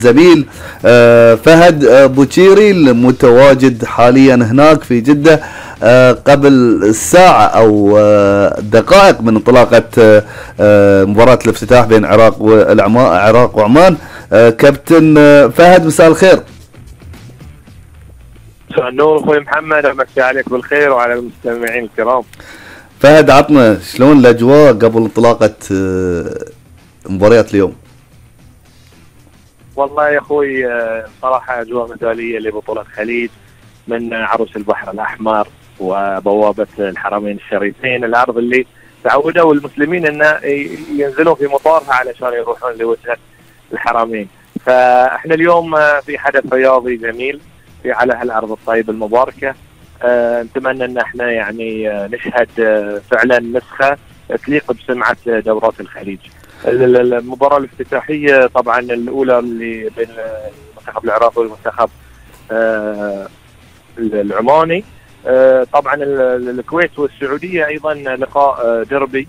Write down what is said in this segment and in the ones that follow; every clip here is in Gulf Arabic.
زميل فهد بوشيري المتواجد حاليا هناك في جدة قبل ساعة أو دقائق من انطلاقة مباراة الافتتاح بين العراق وعمان. كابتن فهد، مساء الخير. مساء النور اخوي محمد، امسي عليك بالخير وعلى المستمعين الكرام. فهد، عطنا شلون الاجواء قبل انطلاقة مباريات اليوم؟ والله يا اخوي صراحه اجواء مثاليه لبطوله الخليج من عروس البحر الاحمر وبوابه الحرمين الشريفين، الارض اللي تعودوا المسلمين ان ينزلون في مطارها علشان يروحون لوجهه الحرمين. فاحنا اليوم في حدث رياضي جميل في على هالارض الطيبه المباركه. نتمنى ان احنا يعني نشهد فعلا نسخه تليق بسمعه دورات الخليج. المباراة الافتتاحية طبعا الأولى اللي بين المنتخب العراقي والمنتخب العماني، طبعا الكويت والسعودية أيضا لقاء دربي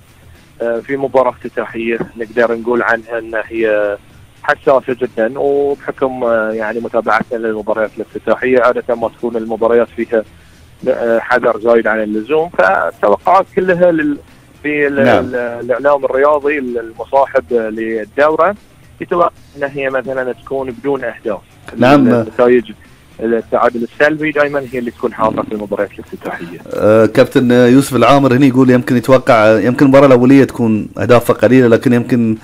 في مباراة افتتاحية نقدر نقول عنها أن هي حساسة جدا، وبحكم يعني متابعتنا للمباريات الافتتاحية عادة ما تكون المباريات فيها حذر زايد عن اللزوم، فالتوقعات كلها في الاعلام الرياضي المصاحب للدوره يتوقع ان هي مثلا تكون بدون اهداف. نعم، نتائج التعادل السلبي دائما هي اللي تكون حاضره في المباريات الافتتاحيه. كابتن يوسف العامر هنا يقول يمكن يتوقع يمكن المباراه الاوليه تكون اهدافها قليله، لكن يمكن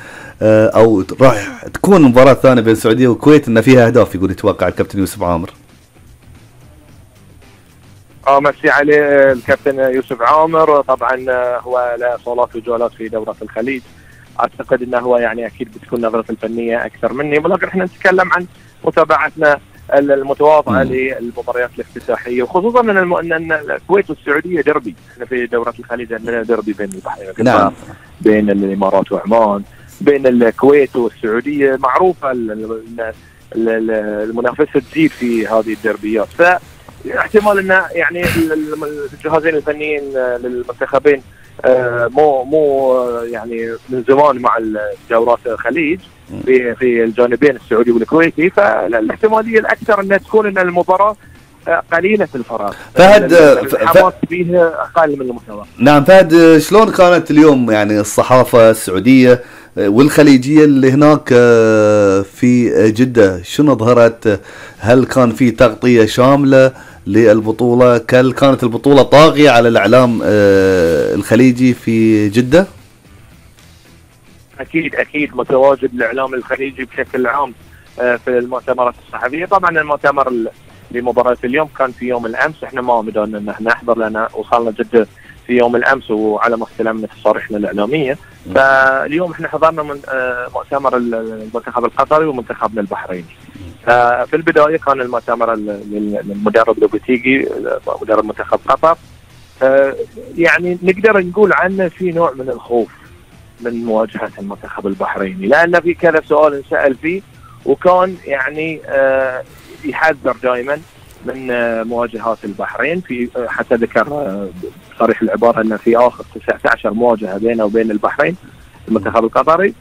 او راح تكون المباراه الثانيه بين السعوديه والكويت ان فيها اهداف، يقول يتوقع الكابتن يوسف عامر. مسي عليه الكابتن يوسف عامر. طبعا هو له صولات وجولات في دورة الخليج، اعتقد انه هو يعني اكيد بتكون نظرته الفنيه اكثر مني، ولكن احنا نتكلم عن متابعتنا المتواضعه للمباريات الافتتاحيه، وخصوصا ان الكويت والسعوديه دربي. احنا في دورة الخليج عندنا دربي بين البحرين نعم، بين الامارات وعمان، بين الكويت والسعوديه، معروفه المنافسه تزيد في هذه الدربيات. احتمال ان يعني الجهازين الفنيين للمنتخبين مو يعني من زمان مع دورات الخليج في الجانبين السعودي والكويتي، فالاحتماليه الاكثر انها تكون ان المباراه قليله الفراغ. فهد الحماس فيها اقل من المتوقع. نعم فهد، شلون كانت اليوم يعني الصحافه السعوديه والخليجيه اللي هناك في جده؟ شنو ظهرت؟ هل كان في تغطيه شامله للبطوله؟ هل كانت البطوله طاغيه على الاعلام الخليجي في جده؟ اكيد متواجد الاعلام الخليجي بشكل عام في المؤتمرات الصحفيه. طبعا المؤتمر لمباراه اليوم كان في يوم الامس، احنا ما قدرنا ان احنا نحضر لان وصلنا جده في يوم الامس وعلى ما استلمنا تصاريحنا الاعلاميه. فاليوم احنا حضرنا من مؤتمر المنتخب القطري ومنتخبنا البحريني. في البدايه كان المؤتمر للمدرب لوبيتيجي مدرب منتخب قطر، يعني نقدر نقول عنه في نوع من الخوف من مواجهه المنتخب البحريني، لان في كذا سؤال انسال فيه، وكان يعني يحذر دائما من مواجهات البحرين. في حتى ذكر صريح العباره ان في اخر 19 مواجهه بينه وبين البحرين المنتخب القطري،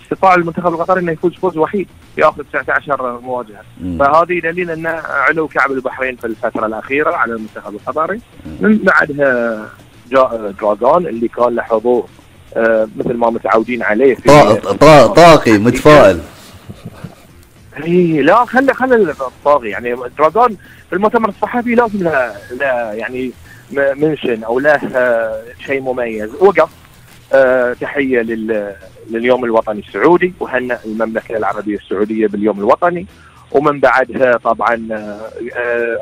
استطاع المنتخب القطري انه يفوز فوز وحيد في اخر 19 مواجهه. فهذه دليل ان علو كعب البحرين في الفتره الاخيره على المنتخب القطري. من بعدها جاء دراغون اللي كان له حضور مثل ما متعودين عليه في طاقي متفائل. لا خلي الطاغي يعني دراغون في المؤتمر الصحفي لازم له يعني منشن او له شيء مميز. وقف تحيه لليوم الوطني السعودي وهنأ المملكه العربيه السعوديه باليوم الوطني. ومن بعدها طبعا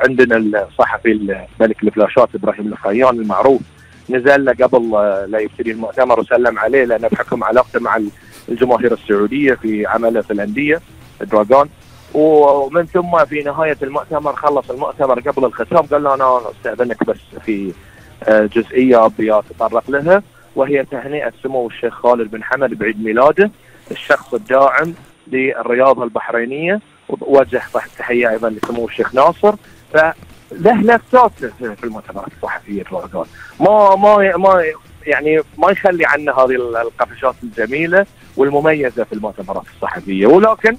عندنا الصحفي الملك الفلاشات ابراهيم الخيان المعروف، نزل له قبل لا يبتدي المؤتمر وسلم عليه، لانه بحكم علاقته مع الجماهير السعوديه في عمله في الانديه دراغون. ومن ثم في نهايه المؤتمر خلص المؤتمر قبل الختام قال له انا استاذنك بس في جزئيه ابي اتطرق لها، وهي تهنئه سمو الشيخ خالد بن حمد بعيد ميلاده، الشخص الداعم للرياضه البحرينيه. ووجه تحيه ايضا لسمو الشيخ ناصر. فله لفتات في المؤتمرات الصحفيه دراغون، ما يعني ما يخلي عنا هذه القفشات الجميله والمميزه في المؤتمرات الصحفيه. ولكن